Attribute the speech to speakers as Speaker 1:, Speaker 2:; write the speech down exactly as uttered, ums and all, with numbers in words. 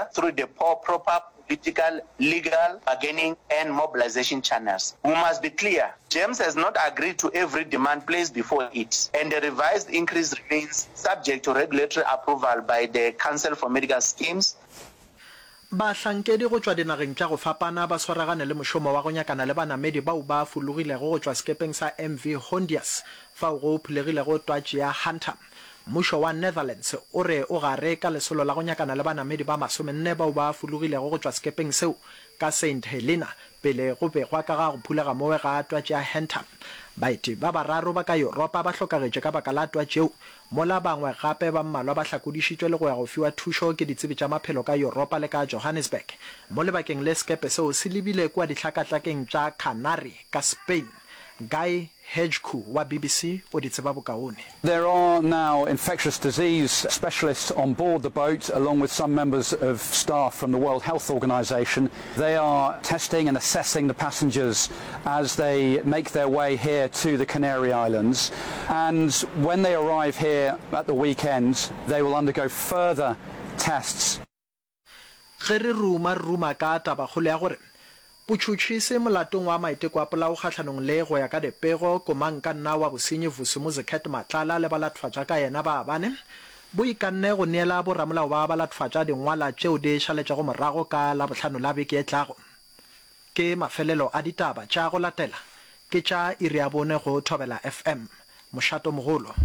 Speaker 1: sector through the proper political, legal, bargaining and mobilization channels. We must be clear, GEMS has not agreed to every demand placed before it, and the revised increase remains subject to regulatory approval by the Council for Medical Schemes.
Speaker 2: Bahlankedi go tšwa dinageng tša go fapana ba swaragane le mošomo wa go nyakana le banamedi bao ba fologilego go tšwa sekepeng sa M V Hondius fao go phulegilego twatši ya Hunter. Mmušo wa Netherlands o re o gare ka lesolo la go nyakana le banamedi ba masomenne bao ba fologilego go tšwa sekepeng seo ka Saint Helena pele go begwa ka ga go phulega mowe ga twatši ya Hunter. Baeti ba bararo ba ka Yuropa ba hlokagetše ka baka la twatši yeo, mola bangwe gape ba mmalwa ba hlakodišitšwe le go ya go fiwa thušo ke ditsebi tša maphelo ka Yuropa le ka Johannesburg. Mo lebakeng le sekepe seo se lebile kua dihlakahlakeng tša Canary ka Spain. Guy Hedgecoe wa B B C o di tseba bokaone.
Speaker 3: There are now infectious disease specialists on board the boat, along with some members of staff from the World Health Organization. They are testing and assessing the passengers as they make their way here to the Canary Islands. And when they arrive here at the weekend, they will undergo further tests.
Speaker 2: Ge re ruma, re ruma ka tabakgolo ya gore botšhotšhisi molatong wa maiteko a polao kgahlanong le, go ya ka dipego, komangkanna wa bosenyi Vusimuzi Cat Matlala le balatfatša ka yena ba bane, bo ikanne go neela boramolao ba balatfatša dingwala tšeo di šaletšego morago ka Labohlano la beke e tlago. Ke mafelelo a ditaba tša go latela ke tša iri ya bone go Thobela F M. Mošato mogolo.